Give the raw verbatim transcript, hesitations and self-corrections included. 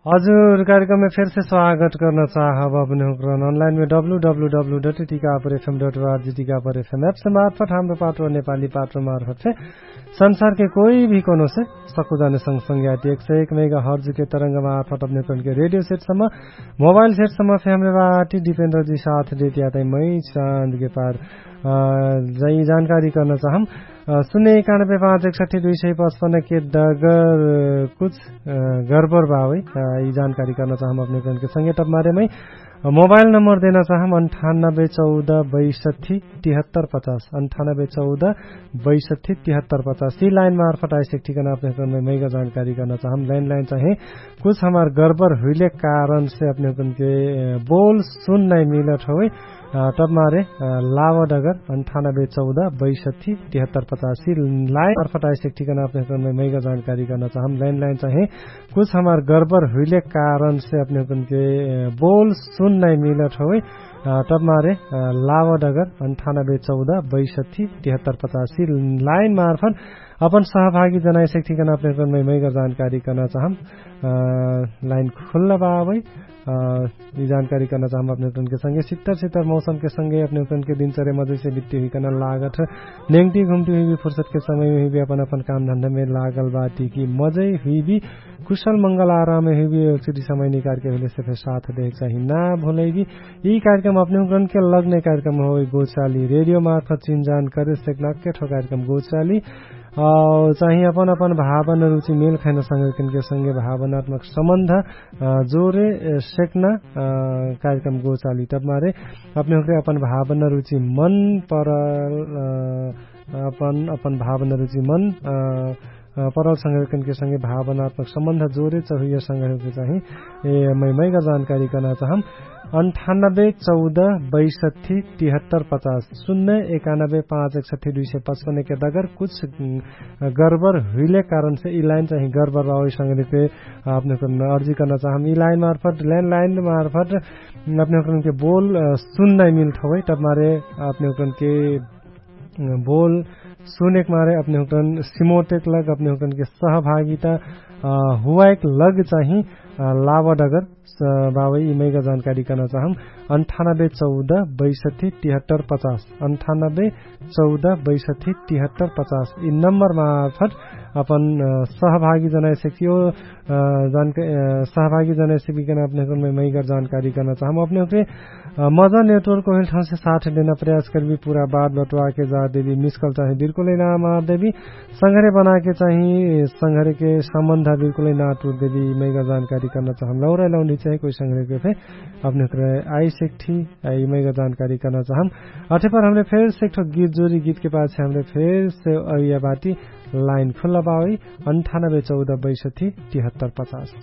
हजुर, कार्यक्रममे फेरसे स्वागत कर्न चाहब अपने हुँक्रन अनलाइनमे डब्लु डब्लु डब्लु डट टिकापर एफएम डट वार्जी टिकापर एफएम एप्स मार्फट हाम्रो पाटो नेपाली पाटो मार्फट फे संसारके कोही भी कोनो से सक्कु जाने संग संग याटी एक सय एक मेगा हर्जुके तरंग मार्फट अपने हुँक्रनके रेडियो सेटसम्म मोबाइल सेटसम्म फे हमरे बाटी डिपेन्द्रजी साथ देती आतै मै चाँदके पार जै जानकारी कर्न चाहम। सुन्ने एकानबे पाँच एकसठी दुई सय पचपन्न के डगर कुछ गरबर बावै। यि जानकारी कर्न चाहम अपने हुँक्रनके संगे टप मारे मै मोबाइल नम्बर देना चाहम अन्ठानबे चौध बैसठी तिहत्तर पचास अन्ठानबे चौध बैसठी तिहत्तर पचास यि लाइन मार्फट आइसेक ठिकाना अपने हुँक्रनमे मैगा जानकारी कर्न चाहम। लाइन लाइन चाहे कुछ हमार गरबर हुइले कारणसे अपने हुँक्रनके बोल सुन नाइ मिलत होइ। तब मारे लावड अगर अन्ठानबे चौध बैसठी तिहत्तर पचासी लाइन अर्फट आइसेक ठिकाना अपने हुँक्रनमे मैगा जानकारी कर्न चाहम। लाइन लाइन चाहे कुछ हमार गरबर हुइले कारणसे अपने हुँक्रनके बोल सुन नाइ मिलत होइ। तब मारे लावड अगर अन्ठानबे चौध बैसठी तिहत्तर पचासी लाइन मार्फट अपन सहभागी जनाइसेक ठिकाना अपने हुँक्रनमे मैगा जानकारी कर्न चाहम। लाइन खुल्ला बावै। यि जानकारी कर्न चाहम अपने हुँक्रनके संगे सित्तर सित्तर मौसमके संगे अपने हुँक्रनके दिनचर्या मजैसे बित्ती हुइकन लागत नेङ्टी घुम्टी हुइबी फुर्सतके समयमे हुइबी अपन अपन काम धन्धामे लागल बाटी कि मजै हुइबी कुशल मंगल आरामे हुइबी। एकचोटी समय निकारके हुइलेसे फे साथ देहेक चाही ना भुलैबी। यि कार्यक्रम अपने हुँक्रनके लग्ने कार्यक्रम होइ गोचाली रेडियो मार्फत चिन्जान करे सेक नाक्के ठो कार्यक्रम गोचाली। चाही अपन अपन भावना रुचि मेल खैना संगे किनके संगे भावनात्मक सम्बन्ध जोरे सेक्ना कार्यक्रम गोचाली तब मारे अपने हुँक्रे अपन भावना रुचि मन परल अपन अपन भावना रुचि मन परल संगे किनके संगे भावनात्मक सम्बन्ध जोरे चहुइया संगे चाही। ए मै मैगा जानकारी कर्ना चाहम। अन्ठानबे चौध बैसठी तिहत्तर पचास सुन्ने एकानबे पाँच एकसठी दुई सय पचपन्न के दगर कुछ गरबर हुइले कारणसे यि लाइन चाही गरबर बावै संगे के अपने हुँक्रन अर्जी कर्न चाहम। यि लाइन मार्फट ल्यान्ड लाइन मार्फट अपने हुँक्रनके बोल सुन नाइ मिल्ठवै तब मारे अपने हुँक्रनके बोल सुनेक मारे अपने हुँक्रन सिमोटेक लग अपने हुँक्रनके सहभागिता हुवाइक लग चाही। लावड अगर बावै यि मैगा जानकारी कर्न चाहम। अन्ठानबे चौध बैसठी तिहत्तर पचास अन्ठानबे चौध बैसठी तिहत्तर पचास यि नम्बर मार्फट अपन सहभागी जनाइसकियो। सहभागी जनाइसकिकन अपने हुँक्रनमे मैगर जानकारी कर्न चाहम अपने हुँक्रे मजा नेटवर्क होइल ठाउँसे साथ देना प्रयास करबी पूरा बात बटुवाके जा देबी मिसकल चाही बिल्कुलै ना मार देबी। संघरे बनाके चाही संघरेके सम्बन्ध बिल्कुलै ना टुट देबी मैगर जानकारी कर्न चाहम लौरै लौन्डी चाही कोइ संघरेके फे अपने हुँक्रे आइसेक ठी यि मैगर जानकारी कर्न चाहम। अठे पर हमरे फेर से एक ठो गीत जोरी गीतके पाछे हमरे फेर से अइया बाटी लाइन खुल्ला बावै अन्ठानबे चौध बैसठी तिहत्तर पचास।